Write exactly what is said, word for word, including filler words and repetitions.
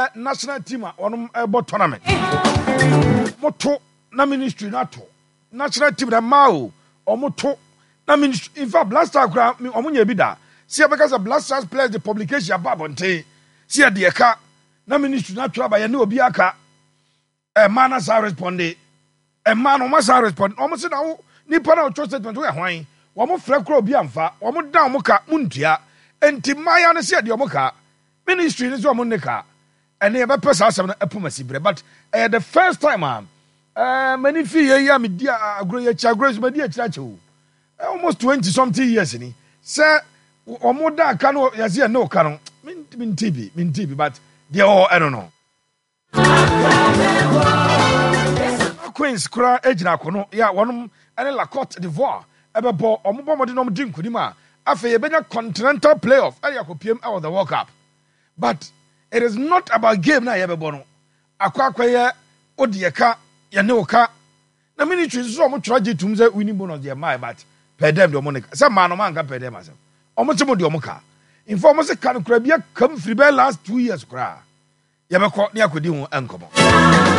Ɛyɛ national team a wɔnom ɛbɔ tournament. Moto na ministry no ato national team na mmaa o, ɔmo to na ministry. In fact, Black Stars koraa, ɔmo nyɛ bi da si yɛbɛka sɛ Black Stars players de publication aba abɔnten si yɛde ɛka na ministry no atwerɛ aba. Yɛne obi aka ɛmaa na saa respond ɛmaa no, ɔmo saa respond. Ɔmo sɛ na wo nipa na ɔtwerɛ statement woyɛ hwan? Wɔn frɛ kora obi amfa. Wɔn dan wɔn ka mu ntua nti mmaaya no sɛ yɛde ɔmo ka ministry no sɛ ɔmo ne ka. Ɛne yɛbɛpɛ saa asɛm no ɛpom asi berɛ, but ɛyɛ the first time a ɛɛ mani fi yɛ yi a medi agorɔ yɛ akyi, agorɔ yi so madi akyire akyɛ o, almost twenty something years ni sɛ wɔn da aka no yɛsɛ yɛn ne ɔka no. Minti bi, minti bi, but deɛ ɔwɔ ɛno no Queens koraa gyina akono yɛ a wɔnom ne La Cote d'Ivoire ɛbɛbɔ. Ɔmo bɔ mmɔden na ɔmo di nkunim a, afei yɛbɛnya continental playoff ɛde akɔpiem ɛwɔ the World Cup. But it is not about game na yɛbɛbɔ no akɔ akɔyɛ o deɛ ka yɛne wo ka na ministry nso ɔmo twerɛ gye tum sɛ winning bonus deɛ mmaa, but per diem deɛ ɔmo ne ka sɛ mmaa no ɔmo anka per diem asɛm. Ɔmo sɛ mo deɛ ɔmo ka nfa ɔmo sɛ ka no kora bi akam firi bɛyɛ last two years koraa. Yɛbɛkɔ ne akɔdi ho nkɔmɔ.